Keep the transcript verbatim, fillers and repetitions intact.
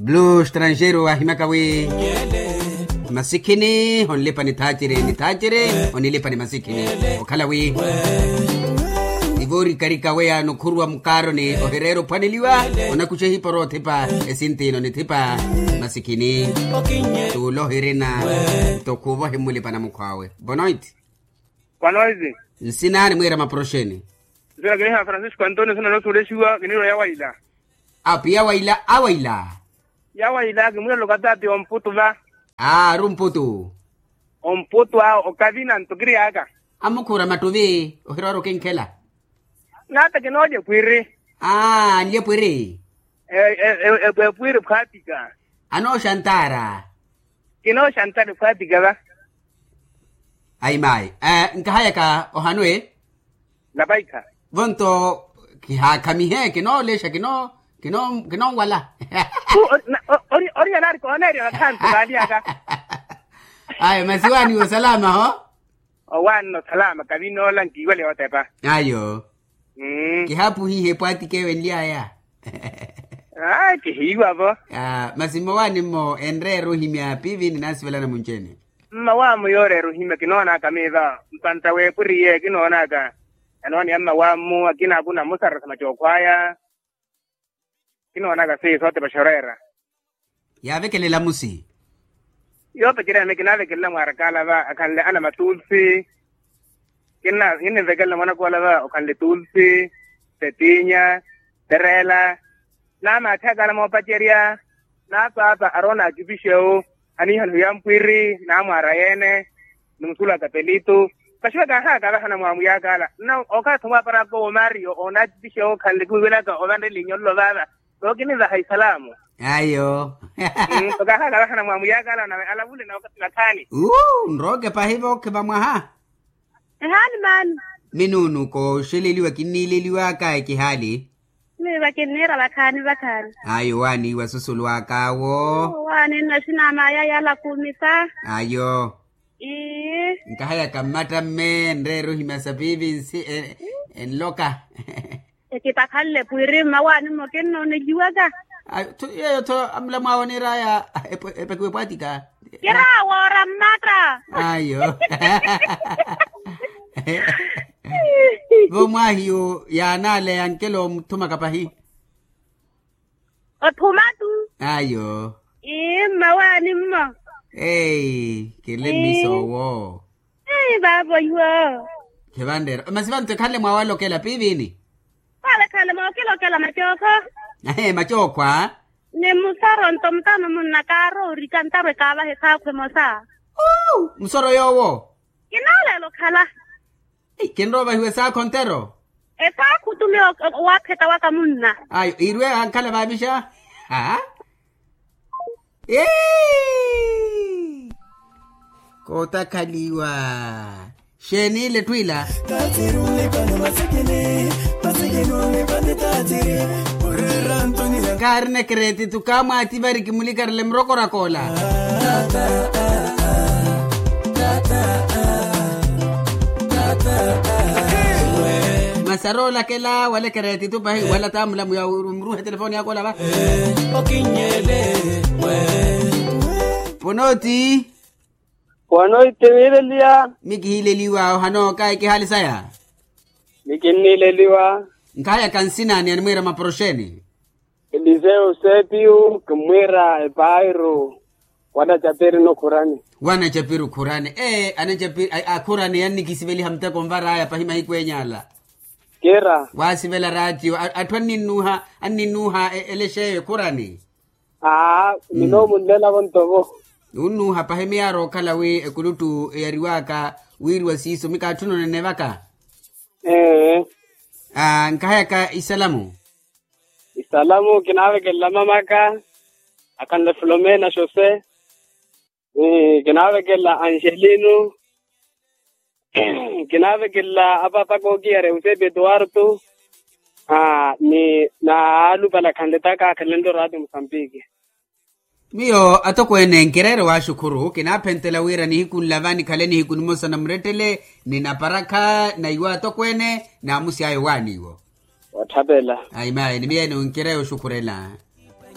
Blue strangeiro ahimyaka wi masikhini onlipa ni thaaciri ni thaaciri onilipa ni masikhini. Okhala wi ivoorikarika weya nukhuruwa mukaaroni ohireera ophwaneliwa onakuxa ehiporo othipa esintino nithipa masikhini. Tuula ohirina nto khuuva ohimmulipa namukhwaawe bonoit. Kwanoizi. Nsina nimwiira maproxeni. Nsina kiniha francisco antonio nsina noosulexiwa kiniirwa yawaila. Apiya waila awaila. Yawaila kimwiira lokatati omputu va. Aaru mputu. Omputu awo okavina ntukiri aka. Amukhuura mattuvi ohirowari okinkhela. Nata kinoolya epwiri. Aa anlya epwiri. Epwiri phwatika. Anooxantaara. Kinooxantale khwaatika va. Ayi maayi. Nkahayaka ohanwe. Napaikha. Vonto kihaakhamihe kinoolexa kinoo kinoo kinoonwala. Ori anaari kooneerya vakhantu kaalyaka. Ayo masi waaniwa osalama ho. Owaanna osalama kavinoola nkiiwale otepa. Ayo. Kihaapuhihe epwaatike ewe nly'aya. Kihiiwa-vo. Masi mmowaani mmo enreera ohimya piivi ninaasivelana munci-ene. Mmawaamo yooreera ohimya kinoonaka miiva mpantta w'epwiri iye kinoonaka. Anooniya mmawaamo akina akuna musarasama cookhwaya. Kinoonaka siiso otepa xoreera. Yaavekelela musi. Yoopecerya name kinaavekelela mwaarakaala va akhanle ana matulsi. Kinna kinnivekelela mwanakoola va okhanle tulsi, tetinya, tereela. Naamaatthi akaala moopacerya. Naapaapa aroona akipixewu aniihana ohiya mpwiri naamwaara yeene. Ni musulu aka pelitu. Paxiwa kaahaaka avahana mwaamuyakaala nna okathi omwaaparaka owo mario onaatipixewu okhanle kiwiwelaka ovanrelinya ololo vaava. Tookinivaha isalaamu. Ayo. Tokaahaka vahana mwaamuyakaala nave alavule na wakati vakhaani. Nrooke pahi vookhiva mwaha. Ehaani maani. Minuunuko oxeleliwa kinniileliwaka ekihaali. Miiva kinniira vakhaani vakhaani. Ayo waaniiwa susulu akaawo. Waani nnaxinaama aya yala khumisa. Ayo. Nkahayaka mmatta mme enreera ohimya sapiivi nsi enloka. Ekipakhanle pwiiri mmawaani mmo kinnooneliwaka. Yeeyo tho amulamu awo oniir'aya epakiwe epwaatika. Kiraawoora mmatta. Ayo. Vo mwaahiyu yaanaaleya nkelo omuthumaka pahi. Othuma tu. Ayo. Ii mmawaani mmo. Eyi kinle mmiso owo. Eyi vaavo iwo. Khivanreera masi vantu ekhanle mwaawalokela piivini. Vaavo ekhanle mwaawakilokela macookho. Ahe macookhwa. Ni musoro nto mutano munna kaaroorika ntarwe kaavaha esaakhu emosa. Musoro yoowo. Kinoolela okhala. Kinrowa ovahiwa esaakhu ontero. Esaakhu tumi owaapheta waka munna. Ayo iirwe ankhala vaavixa. Aa. Kootakhaliwa. Xeeni ile etthu ila. Kaarina ekeretitu kaamwaati vari kimulikarele murokorakoola. Masi aroolakela wala ekeretitu pahi wala taamulamu ya omuruuha etelefoni yaka ola va. Ponooti. Wano ittiviileliya. Mikihiileliwa ohano kayi kihaali saya. Mikinniileliwa. Nkahayaka nsinaani animwiira maproxeni. Eliseu sepiyu kimmwiira epairu. Wanacapiru khurani. Wanacapiru khurani ee anacapiru akhurani yannikisiveliha muteko nvar'aya pahi mahiku eny'ala. Kira. Waasivela raatiyo atthu anninnuuha anninnuuha elex'eyo ekhurani. Aa. Minoomunlelavo ntovo. Nunnuuha pahi miyaara okhala wi ekuluttu eyariwaka wiiriwa siiso mikaatthi ononene vaka. Ee. Aa nkahayaka isalamu. Isalamu kinaavekelela mamaka akhanle filomena xose. Kinaavekelela angelino. Kinaavekelela apapaka okiyari eusepi etuwartu. Ni na alupale akhanle taka akhalenle oraati musambiki. Miyo atokweene nkireere waaxukhuru kinaaphentela wira nihiku nlava nikhale nihiku nimosa namurettele. Ninaparakha naiwo atokweene naamusi ayo waaniiwo. Watthapela. Ayi mayi ni miyeene onkireere oxukhurela.